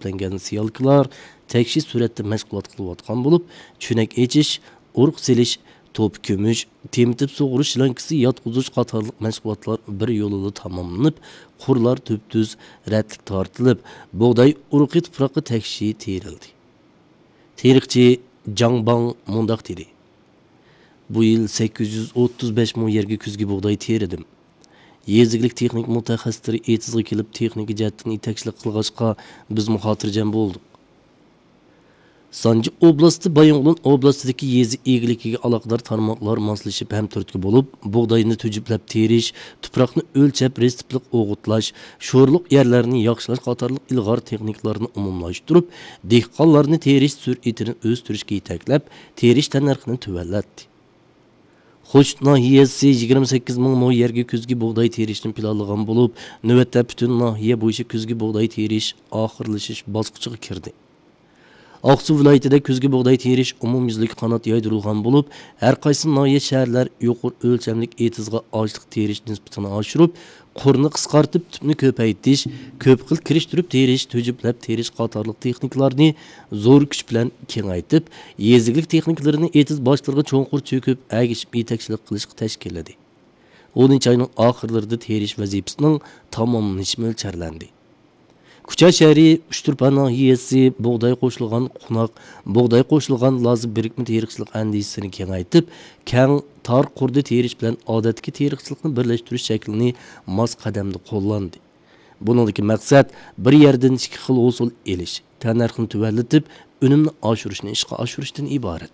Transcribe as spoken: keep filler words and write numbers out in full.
تۈپلەنگەن سىيالكىلار تەكشى سۈرئەتتە مەشغۇلات قىلىۋاتقان بولۇپ، چۆنەك ئېچىش، ئۇرۇق سېلىش، توپا كۆمۈش، تېمىتىپ سۇغۇرۇش شلانكىسى ياتقۇزۇش قاتارلىق مەشغۇلاتلار بىر يولىلا تاماملىنىپ، قۇرلار تۈپتۈز رەتلىك تارتىلىپ، بۇغداي ئۇرۇقى تۇپراققا تەكشى تېرىلدى. تېرىقچى جاڭ باڭ مۇنداق دېدى: «بۇ يىل سەككىز يۈز ئوتتۇز بەش مو يەرگە كۈزگى بۇغداي تېرىدىم. يېزا ئىگىلىك تېخنىكا مۇتەخەسسىسلىرى ئېتىزغا كېلىپ تېخنىكا جەھەتتىن يېتەكچىلىك قىلغاچقا، بىزمۇ خاتىرجەم بولدۇق.» سانجى ئوبلاستى بايىنغولىن ئوبلاستىدىكى يېزا ئىگىلىكىگە ئالاقىدار تارماقلار ماسلىشىپ ھەمتۈرتكە بولۇپ، بۇغداينى تۈجۈپلەپ تېرىش، تۇپراقنى ئۆلچەپ رېتسېپلىق ئوغۇتلاش، شورلۇق يەرلەرنى ياخشىلاش قاتارلىق ئىلغار تېخنىكىلارنى ئومۇملاشتۇرۇپ، دېھقانلارنى تېرىش سۈرئىتىنى ئۆستۈرۈشكە يېتەكلەپ، تېرىش تەننەرخىنى تۆۋەنلەتتى. خوشۇت ناھىيەسى يىگىرمە سەككىز مىڭ مو يەرگە كۈزگى بۇغداي تېرىشنى پىلانلىغان بولۇپ، نۆۋەتتە پۈتۈن ناھىيە بويىچە كۈزگى بۇغداي تېرىش ئاخىرلىشىش باسقۇچىغا كىردى. ئاقسۇ ۋىلايىتىدە كۈزگى بۇغداي تېرىش ئومۇميۈزلۈك قانات يايدۇرۇلغان بولۇپ، ھەر قايسى ناھىيە، شەھەرلەر يۇقىرى ئۆلچەملىك ئېتىزغا ئاشلىق تېرىش نىسبىتىنى ئاشۇرۇپ، قۇرنى قىسقارتىپ، تۈپنى كۆپەيتىش، كۆپ خىل كىرىشتۈرۈپ تېرىش، تۈجۈپلەپ تېرىش قاتارلىق تېخنىكىلارنى زور كۈچ بىلەن كېڭەيتىپ، يېزا ئىگىلىك تېخنىكىلىرىنى ئېتىز باشلىرىغا چوڭقۇر چۆكۈپ، ئەگىشىپ يېتەكچىلىك قىلىشقا تەشكىللىدى. ئونىنچى ئاينىڭ ئاخىرلىرىدا تېرىش ۋەزىپىسىنىڭ تاماملىنىشى مۆلچەرلەندى. كۇچا شەھىرى ئۇچتۇرپان ناھىيەسى بۇغداي قوشۇلغان قوناق، بۇغداي قوشۇلغان لازا بىرىكمە تېرىقچىلىق ئەندىزىسىنى كېڭەيتىپ، كەڭ، تار قۇردا تېرىش بىلەن ئادەتتىكى تېرىقچىلىقنى بىرلەشتۈرۈش شەكلىنى ماس قەدەمدە قوللاندى. بۇنىڭدىكى مەقسەت بىر يەردىن ئىككى خىل ھوسۇل ئېلىش، تەننەرخنى تۆۋەنلىتىپ، ئۈنۈمنى ئاشۇرۇشنى ئىشقا ئاشۇرۇشتىن ئىبارەت.